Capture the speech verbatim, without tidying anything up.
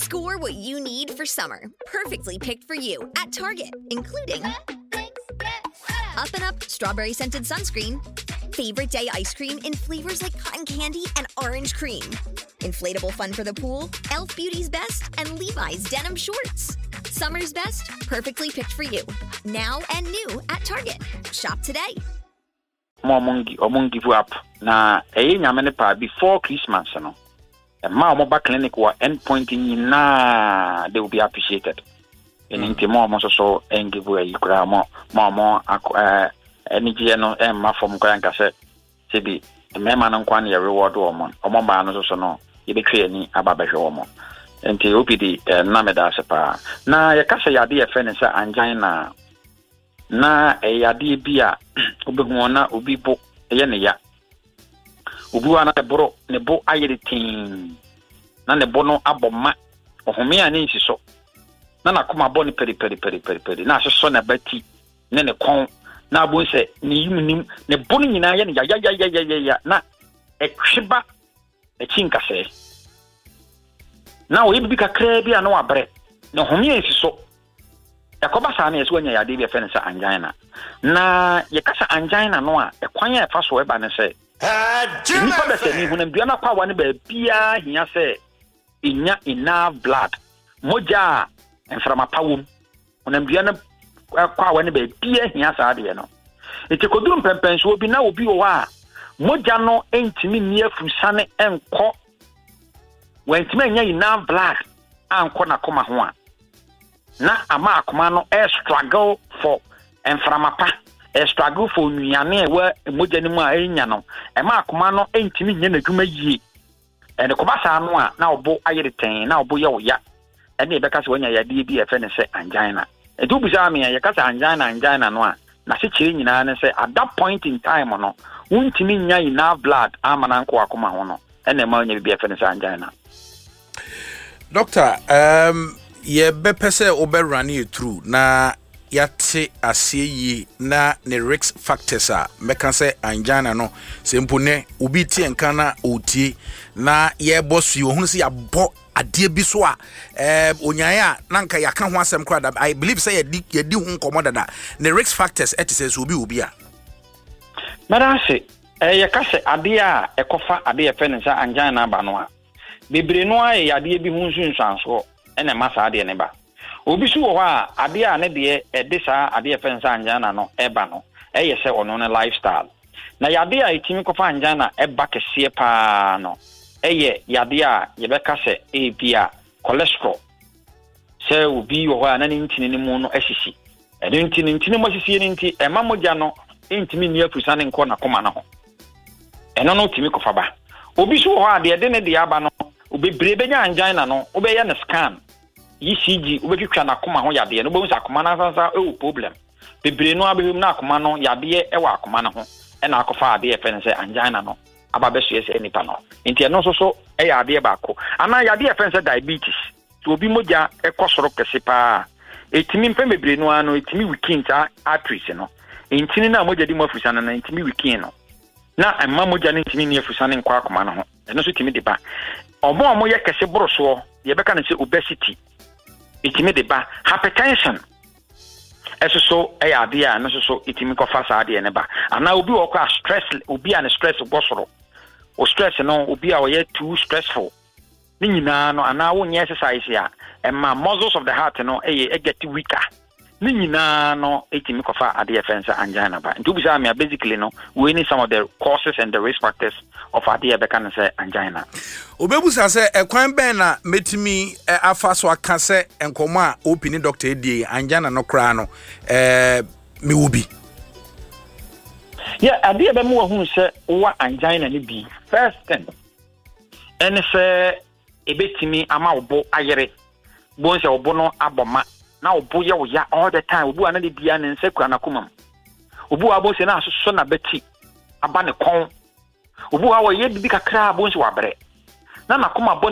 Score what you need for summer. Perfectly picked for you at Target, including Up and Up strawberry scented sunscreen, favorite day ice cream in flavors like cotton candy and orange cream, inflatable fun for the pool, Elf Beauty's best, and Levi's denim shorts. Summer's best, perfectly picked for you. Now and new at Target. Shop today. Mo ɔmo ɔmo give up na ɛyɛ Nyame ne paa. Before Christmas no, ɛma ɔmo ba clinic wɔ end point nyinaa, they will be appreciated. Ɛno nti mo ɔmo nso so ɛngive ayi koraa, mo mo ɔmo akɔ ɛɛ anigyeɛ no ɛmma fam koraa. Nka sɛ sɛbi mmarima no nkwa no yɛ reward wɔn, ɔmo mmaa no nso so no yɛbɛtwa ani aba bɛhwɛ wɔn. Nti O P D ɛɛ nna meda ase paa. Na yɛka sɛ yade yɛfrɛ no sɛ angina, na ɛyɛ adeɛ bi a wobɛhu wɔn na obi bo ɛyɛ ne ya, obi wa na ne boro ne bo ayɛ de tee na ne bo no abɔ ma ɔhome a ne nsi so, na n'akoma bɔ ne pɛripɛripɛripɛri na asosɔ n'abati ne ne kɔn na abo sɛ ne yim nim ne bo no nyinaa yɛ no yayayayayaya na ɛtwe ba akyi nkasɛɛ na ɔyɛ bibi kakraa bi a na wabrɛ ne home a nsi so. Ɛkɔba saa no, yɛ sɛ wanya yadeɛ bi a yɛfrɛ no sɛ angina. Na yɛka sɛ angina no a, ɛkwan a ɛfa so ɛba ne sɛ nnipa bɛsɛ ne honamdua no akwawa no baabiaa hia sɛ ɛnya enough blood, mogya a mframa pa wom. Honamdua no akwawa no baabiaa hia saa adeɛ no. Nti kɔduru mpɛmpɛnsoɔ bi na obi wɔ hɔ a mogya no ntumi nni afurusane nkɔ, wantumi anya enough blood ankɔ n'akoma ho a, na ama akoma no ɛ struggle for mframa pa, ɛ struggle for nnuane a ɛwɔ mogya no mu a ɛnya no. Ɛma akoma no ntumi nyɛ n'adwuma yie. Ɛne kɔba saa no a, na ɔbo ayere tɛn na ɔbo yɛ ɔya. Ɛne yɛbɛka sɛ wanya yadeɛ bi a yɛfrɛ no sɛ angina. Nti wobisaa me a, yɛka sɛ angina, angina no a, n'asekyerɛ nyinaa ne sɛ at that point in time no, wontumi nya enough blood ama no ankɔ akoma ho no, ɛna ɛma wonya biribi a yɛfrɛ no sɛ angina. Doctor, um, yɛbɛpɛ sɛ wobɛrun yɛ through na yɛate aseɛ yie na ne risk factors a mɛka sɛ angina no, sɛ mpo nɛ obi tie nka na ɔtie na yɛbɔ so yi, ohunu sɛ yɛabɔ adeɛ bi so a eh, onyaeɛ a na nka yɛaka ho asɛm koraa da. I believe sɛ yɛdi yɛdi ho nkɔmmɔ dada. Ne risk factors ɛte sɛ sɛ obi wɔ bi a. Mɛda ase. Ɛyɛ yɛka sɛ adeɛ a ɛkɔfa adeɛ yɛfrɛ no sɛ angina aba no a, bebree no ara yɛ yadeɛ bi ho nsunsuansoɔ ɛna ɛma saa adeɛ no ba. Obi so wɔ hɔ a, adeɛ a ne deɛ ɛde saa adeɛ yɛfrɛ no sɛ angina no ɛba no, ɛyɛ sɛ ɔno ne lifestyle. Na yadeɛ a ɛtumi kɔfa angina ɛba kɛseɛ paa no, ɛyɛ yadeɛ a yɛbɛka sɛ ebi a cholesterol, sɛ obi wɔ hɔ a na ne ntini no mu no asisi. Ɛno nti ne ntini mu asisie no nti ɛma mogya no ntumi nni afusane nkɔ n'akoma no ho. Ɛno no tumi kɔfa ba. Obi so wɔ hɔ a, deɛ ɛde ne deɛ aba no, bebree bɛnya angina no, wobɛyɛ no scan, E C G, wobɛtwitwa n'akoma ho yadeɛ no, wobɛhu sɛ akoma no asansa ɛwɔ problem. Bebree no abɛhwɛ mu na akoma no yadeɛ ɛwɔ akoma no ho ɛna akɔfa adeɛ yɛfrɛ no sɛ angina no aba bɛsoɛ sɛ nipa no. Nti ɛno nso so ɛyɛ adeɛ baako. Anaa yadeɛ yɛfrɛ no sɛ diabetes, sɛ obi mogya ɛkɔ soro kɛse paa, ɛtumi mpɛn bebree no ara no ɛtumi weaken saa arteries no, ntini no a mogya di mu afusane no, ntumi weaken no na ɛma mogya no ntumi nni afusane nkɔ akoma no ho. Ɛno nso tumi de ba. Ɔmo a ɔmo yɛ kɛse boro soɔ, yɛbɛka no sɛ obesity, ɛtumi de ba. Hypertension ɛso so ɛyɛ adeɛ a ɛno nso so ɛtumi kɔfa saa adeɛ no ba. Anaa obi wɔ hɔ a stress, obi a ne stress bɔ soro, o stress no, obi a ɔyɛ too stressful ne nyinaa no, anaa wonyɛ exercise a ɛma muscles of the heart no ɛyɛ ɛget weaker ne nyinaa no, ɛtumi kɔfa adeɛ yɛfrɛ no sɛ angina ba. Nti wobisa me a, basically no, wei ne some of the causes and the risk factors of adeɛ yɛbɛka no sɛ angina. Obɛbusa sɛ ɛkwan bɛn na mɛtumi eh, afa so aka sɛ nkɔmmɔ a op ne doctor adie, angina no koraa no, eh, mewɔ bi? Yɛ adeɛ bɛma wahunu sɛ wowɔ angina no bi, first thing ɛne sɛ ɛbɛtumi ama wo bo ayere bohu sɛ wo bo no abɔ ma na wo bo yɛ wo ya all the time. Obi wa na de bia ne nsa kura n'akoma mu. Obi wa bohu sɛ na asosɔ n'abati aba ne kɔn. Obi wa wɔyɛ bibi kakra a, bohu sɛ wabrɛ na n'akoma bɔ ne